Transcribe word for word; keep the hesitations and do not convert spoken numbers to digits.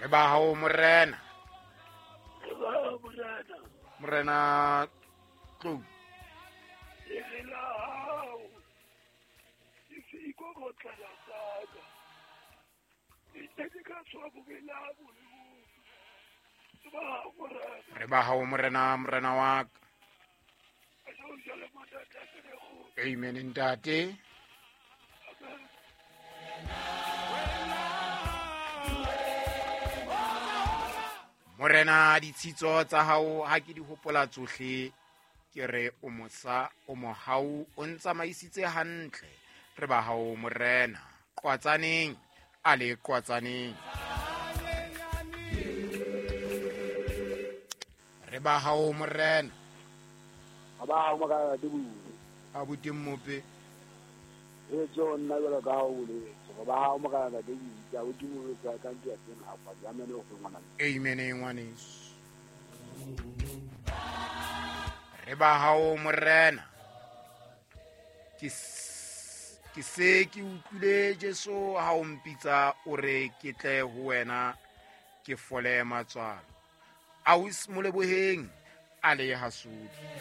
Re ba hao morena. Re ba hao morena. Morena Tlou. Re la hao. Ke se ikokotlela tsaka. Ke ke ka tswa bobela bo. Re ba hao morena. Re ba hao morena, morena wa ka. Amen ntate. Morena ditshitso tsa hao ha ke di hopola tsohle, ke re o mosa, o mohau, o ntsamaisitse hantle. Re ba hao morena. Qwatsaneng, a le qwatsaneng. Re ba hao morena. A ba hao morena ke bue. Abuti Mmope. E tso nna jwalo ka ha o boletse. Re ba hao morena ke bue. Abuti Mmope ka ka ntwa tsena ha kwa. Amen o ngwana. Amen ngwaneso. Re ba hao morena. Ke ke se ke utlwile Jesu ha o mpitsa o re ke tle ho wena ke fole matswalo. Aus Moleboheng a le hasudi.